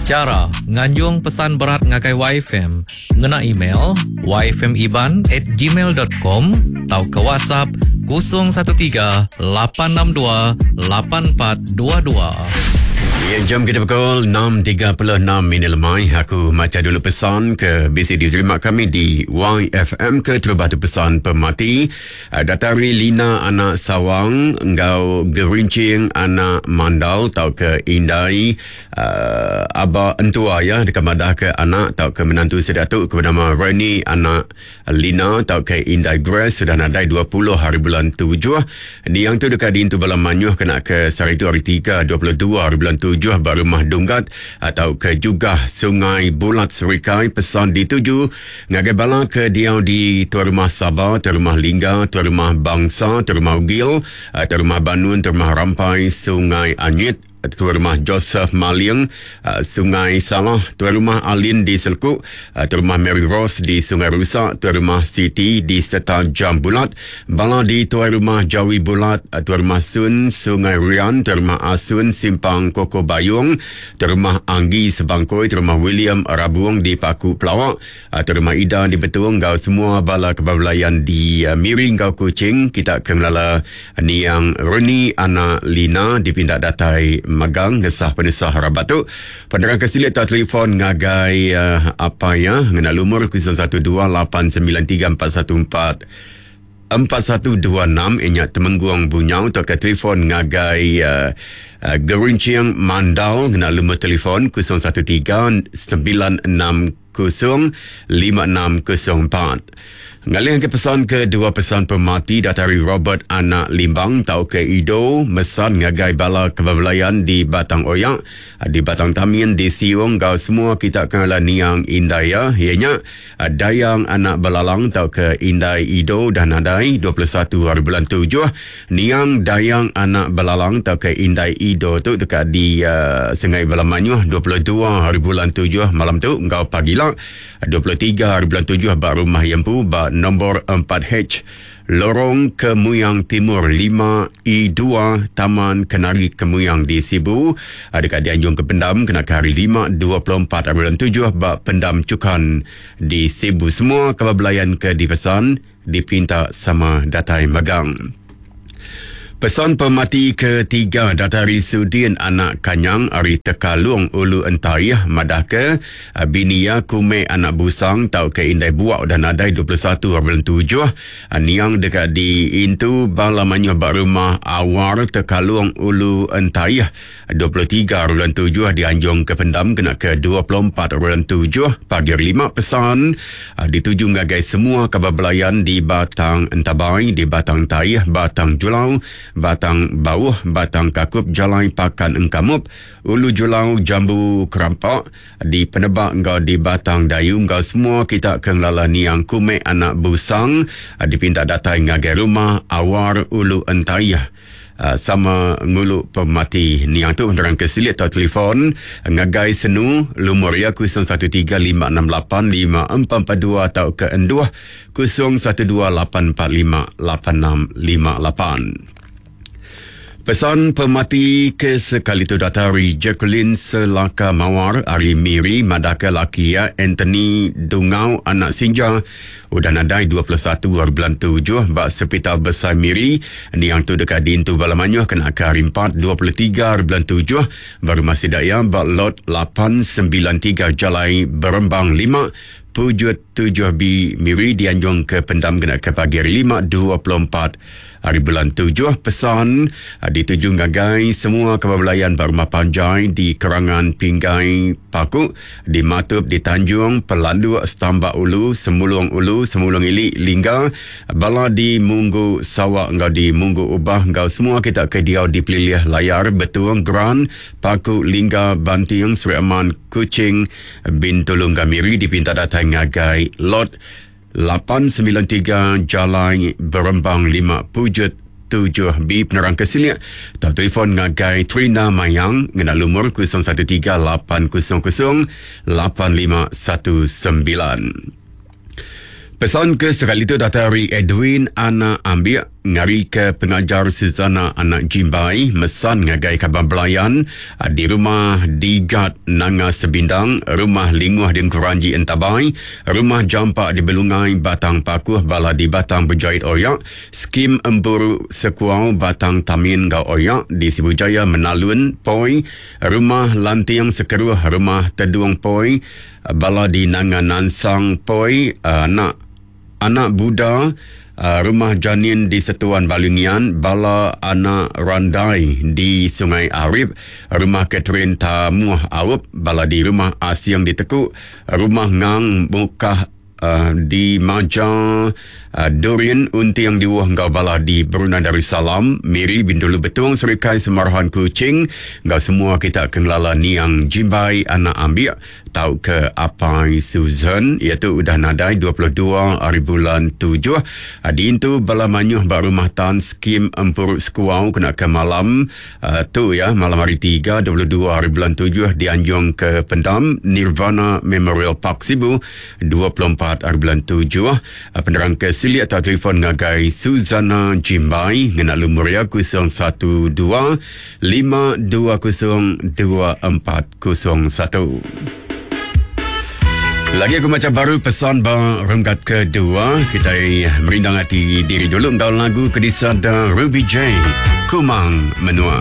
Chara nganjung pesan berat ngagai YFM ngena email yfmiban at gmail dot com tauka WhatsApp 013 862 8422. Ya, jam kita pukul 6.36 minit lemai. Aku maca dulu pesan ke bisi diterima kami di YFM ke terubah tu pesan pemati. Ah, Datari Lina anak Sawang enggau Gerincing anak Mandal tauka Indai uh, aba entua ya deka madah ke anak tauka menantu sida tu ke benama Reni anak Lina tauka Indai Grace sudah nadai 20 hari bulan 7. Niang tu deka diintu bala manyuh kena ke sehari tu hari 3 22 hari bulan 7 ba rumah Dunggat atau ke Jugah Sungai Bulat Serikai pesan dituju ngagai bala ke diau di Tuai Rumah Saba, Tuai Rumah Lingga, Tuai Rumah Bangsa, Tuai Rumah Ugil, Tuai Rumah Banun, Tuai Rumah Rampai, Sungai Anyit, Tuai Rumah Joseph Maling, Sungai Salah, Tuai Rumah Alin di Selku, Tuai Rumah Mary Rose di Sungai Rusa, Tuai Rumah Siti di Seta Jam Bulat, bala di Tuai Rumah Jawi Bulat, Tuai Rumah Sun, Sungai Rian, Tuai Rumah Asun, Simpang Koko Bayung, Tuai Rumah Anggi Sebangkoi, Tuai Rumah William Rabung di Paku Pelawak, Tuai Rumah Ida di Betong enggau semua bala kebabelayan di Miri enggau Kuching kita ke ngelala Niang Reni anak Lina dipinta datai magang ngesah penusah rabat tu. Penerang ke silik tau telefon ngagai uh, apa ya ngena lumur 01289341 4126 inya Temenggung Bunyau tauka telefon ngagai uh, uh, Gerincing Mandal ngena lumur telefon 013 96 05604. Ngalih ke pesan ke dua pesan pemati datai ari Robert anak Limbang tauka Ido mesan ngagai bala kebabelayan di Batang Oyak, di Batang Tamin, di Siung enggau semua kita ke ngala niang indai iya, iya nya Dayang anak Belalang tauka Indai Ido dah nadai 21 hari bulan tujuh. Niang Dayang anak Belalang tauka Indai Ido tu deka di uh, Sengai Bala Manyuh 22 hari bulan tujuh malam tu enggau pagila 23 hari bulan tujuh ba rumah iya empu ba nombor 4H Lorong Kemuyang Timur 5E2 Taman Kenari Kemuyang di Sibu deka dianjung ke pendam kena ke hari 5 24 hari bulan tujuh ba Pendam Chukan di Sibu. Semua kaban belayan ke dipesan dipinta sama datai magang. Pesan pemati ketiga datai ari Sudin anak Kanyang ari Tekalung Ulu Entaih madahka eh, bini iya Kume anak Busang tauka Indai Buak udah nadai 21 bulan tujuh. Eh, niang deka diintu bala mayuh ba rumah Awar Tekalung Ulu Entaih 23 bulan tujuh dianjung ke pendam kena ke 24 bulan tujuh pagi hari lima pesan ah, dituju ngagai semua kaban belayan di Batang Entabai, di Batang Taih, Batang Julau, Batang Bauh, Batang Kakup, Jalai Pakan Engkamup, Ulu Julau, Jambu Kerampak, di Penebak enggau di Batang Dayu enggau semua kita ke ngelala niang Kumek anak Busang ah, dipinta datai ngagai rumah Awar Ulu Entaih. Ah, sama ngulu pemati niang tu nerang ke silik atau telefon ngagai senu lumur iya 0135685442 atau ke enduh 0128458658. Pesan pemati ke sekali tu datai ari Jacqueline Selaka Mawar ari Miri madahka laki iya Anthony Dungau anak Sinja Udah nadai 21 hari bulan tujuh ba Sepital Besai Miri, niang tu deka diintu bala mayuh kena ke hari empat 23 hari bulan tujuh ba rumah sida iya ba Lot 893 Jalai Berembang 5, Pujut 7B Miri dianjung ke pendam kena ke pagi hari lima 24 hari bulan tujuh. Pesan dituju ngagai semua kaban belayan ba rumah panjai di Kerangan Pinggai Paku Di Matup, di Tanjung, Pelanduk, Stambak Ulu, Semulung Ulu, Semulung Ili, Lingga, bala di Munggu Sawa enggau di Munggu Ubah enggau semua kita ke diau di pelilih Layar, Betung, Gran, Paku, Lingga, Banting, Sri Aman, Kuching, Bintulu enggau Miri dipinta datai ngagai Lot 893 Jalai Berembang 5 Pujut 7B penerang ke silik tau telefon ngagai Trina Mayang ngena lumur 013 800 8519. Pesan ke sekali tu datai ari Edwin Anak Ambiak. ngarika pengajar Suzana anak Jimbai mesan ngagai kaban belayan di Rumah Digat Nanga Sebindang, Rumah Linguh di Engkeranji Entabai, Rumah Jampa di Belungai Batang Pakuh bala di Batang Bejait Oyak, Skim Empuru Sekuau Batang Tamin enggau Oyak di Sibu Jaya Menalun Poi, Rumah Lanting Sekeruh, Rumah Tedung Poi, bala di Nanga Nansang Poi, anak Anak Buda, Rumah Janin di Setuan Balingian, bala anak Randai di Sungai Arip, Rumah Catherine Tamuh Aup, bala di Rumah Asing di Teku, Rumah Ngang Mukah di Maja, Durian Unting Diuh enggau bala di Brunei Darussalam, Miri, Bintulu Betong, Serikai Semarahan Kuching enggau semua kita ke ngelala Niang Jimbai anak Ambik. Tauka Apai Susan iya tu udah nadai 22 ari bulan tujuh diintu bala mayuh ba Rumah Tan Skim Empuru Sekuau kena ke malam tu iya malam hari tiga 22 ari bulan tujuh dianjung ke Pendam Nirvana Memorial Park Sibu 24 ari bulan tujuh. Penerang ke silik tau telefon ngagai Suzana Jimbai ngena lumur iya 012 520 24 01. Lagi aku maca baru pesan ba renggat kedua. Kita merindang hati diri dulu enggau lagu ke disada Ruby J. Kumang Menua.